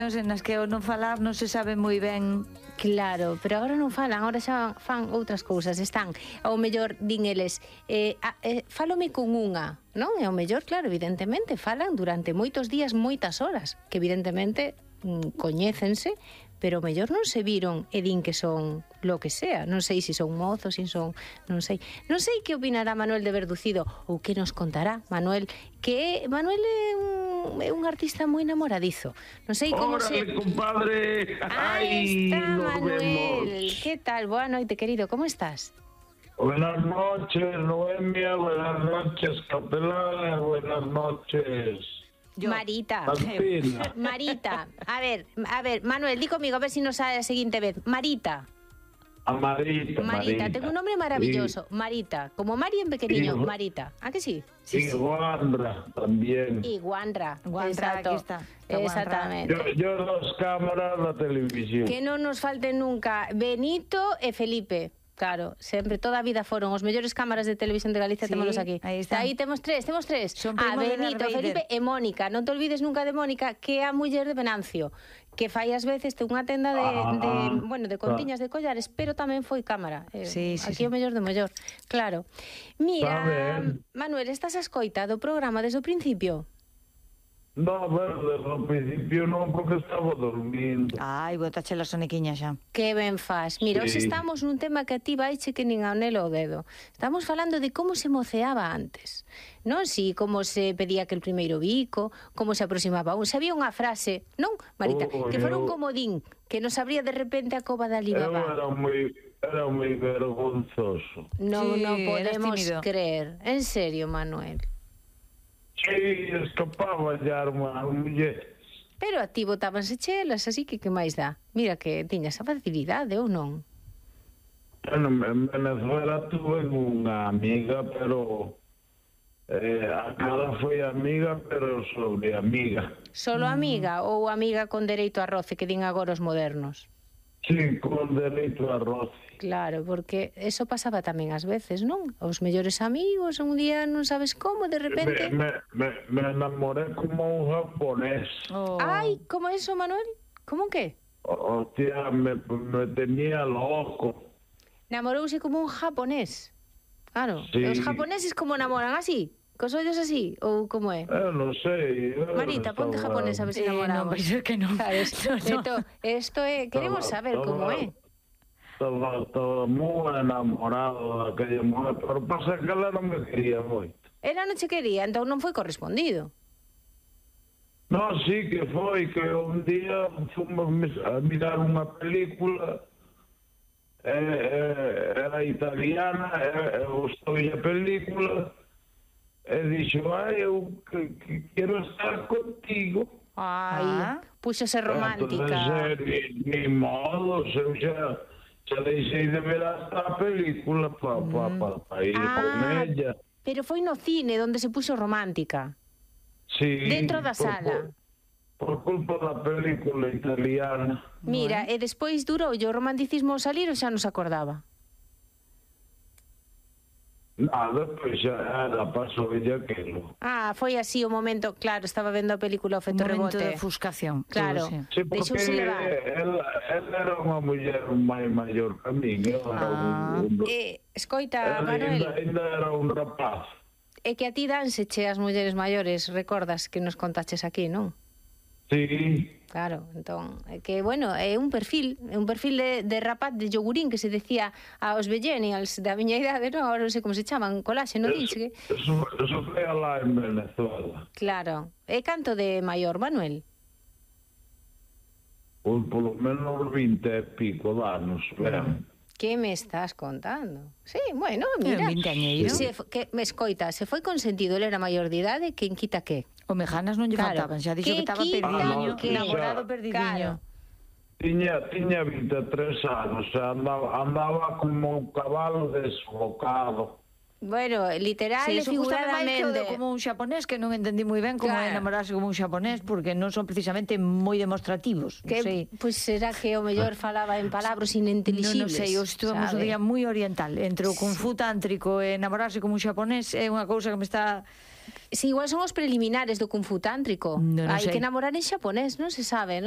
nas que ao non falar non se sabe moi ben. Claro, pero agora non falan, agora xa fan outras cousas. Están, ao mellor, din eles, fálome con unha, non? E ao mellor, claro, evidentemente, falan durante moitos días, moitas horas, que evidentemente coñécense, pero ao mellor non se viron e din que son lo que sea. Non sei se son mozos, se son... Non sei que opinará Manuel de Verducido, ou que nos contará Manuel, que Manuel é un artista moi enamoradizo. Non sei como se... ¡Órale, compadre! Aí está, Manuel. Que tal? Boa noite, querido. Como estás? Buenas noches, Noemia. Buenas noches, Capelán. Buenas noches, Marita. Martina. Marita. A ver, Manuel, di comigo, a ver si nos sale a seguinte vez. Marita. A Marita. Tengo un nombre maravilloso. Sí. Marita. Como Mari en pequeño. Marita. ¿A que sí? Sí, Guandra también. Y Guandra. Exacto. Aquí está. Exactamente. Yo las cámaras, la televisión. Que non nos falte nunca Benito e Felipe. Claro, sempre, toda a vida foron os mellores cámaras de televisión de Galicia, sí, témonos aquí. Aí está. Aí temos tres. Benito, Felipe e Mónica. Non te olvides nunca de Mónica, que é a muller de Venancio, que fai ás veces ten unha tenda de contiñas de collares, pero tamén foi cámara. Aquí o mellor do mellor. Claro. Mira, Manuel, estás a escoita do programa desde o principio? No, desde o principio non, porque estaba dormindo. Ai, botache la sonequiña xa. Que ben faz. Mira, hoxe estamos nun tema que a ti vaiche que nin a Nelo o dedo. Estamos falando de como se moceaba antes. Non si, como se pedía que el primeiro bico, como se aproximaba un. Se había unha frase, non, Marita, que fora un comodín, que nos abría de repente a cova da Alibaba. Era moi vergonzoso. Non podemos creer. En serio, Manuel. Sí, escapaba ya a mulleres. Pero a ti botábanse chelas, así que máis dá? Mira que tiñas a facilidade, ou non? Bueno, en Venezuela tuve unha amiga, pero a cara foi amiga, pero sobre amiga. Solo amiga ou amiga con dereito a roce, que din agora os modernos? Sí, con dereito a roce. Claro, porque eso pasaba tamén ás veces, non? Os mellores amigos, un día non sabes como, de repente... Me enamoré como un japonés. Ai, como eso, Manuel? Como que? Hostia, me tenía loco. Namorouse como un japonés. Claro, sí. Os japoneses como namoran así? Cos ollos así? Ou como é? Non sei. Marita, ponte japonés a ver se namoramos. Non, vai ser que non. Claro, esto é... Queremos saber como é. Estaba moi enamorado daquella mujer, pero pasa que ela non me quería moito. Ela non che quería, entón non foi correspondido. Non, sí que foi, que un día fomos a mirar unha película, era italiana, gustoulle a película, e dixo, eu que quero estar contigo. Ai, puxose romántica. Entonces, ni modo, eu xa deixei de ver hasta a película para ir con ella. Pero foi no cine onde se puxo romántica. Sí. Dentro da sala. Por culpa da película italiana. Mira, e despois durou o romanticismo salir ou xa nos acordaba? Nada, pois xa pasou ella aquilo. Foi así o momento, claro, estaba vendo a película O efecto rebote. Momento de ofuscación. Claro, sí, porque ela era unha muller máis maior que a min. Escoita, Manuel, ainda era un rapaz. É que a ti danse che as mulleres maiores, recordas que nos contaches aquí, non? Sí. Claro, entón, que, bueno, é un perfil de rapaz de yogurín que se decía aos millennials da miña idade, non? Agora non sei como se chaman, colaxe, non dixe? Eso foi alá en Venezuela. Claro. E canto de maior, Manuel? Pois polo menos 20 e pico de anos, ben. Que me estás contando? Sí, bueno, mira. Me escoita, se foi consentido, ele era maior de idade, quen quita que? O mejanas non lle faltaban, xa dixo que estaba perdidiño, namorado perdidiño. Tiña 23 anos, andaba como un cabalo desbocado. Bueno, literal e figuradamente. Como un xaponés, que non entendí moi ben como é enamorarse como un xaponés, porque non son precisamente moi demostrativos. Pois será que o mellor falaba en palabras ininteligibles. Non sei, estuvamos un día moi oriental. Entre o kung fu tántrico e enamorarse como un xaponés é unha cousa que me está... Si, igual son os preliminares do kung fu tántrico. Hai que enamorar en xaponés, non se sabe.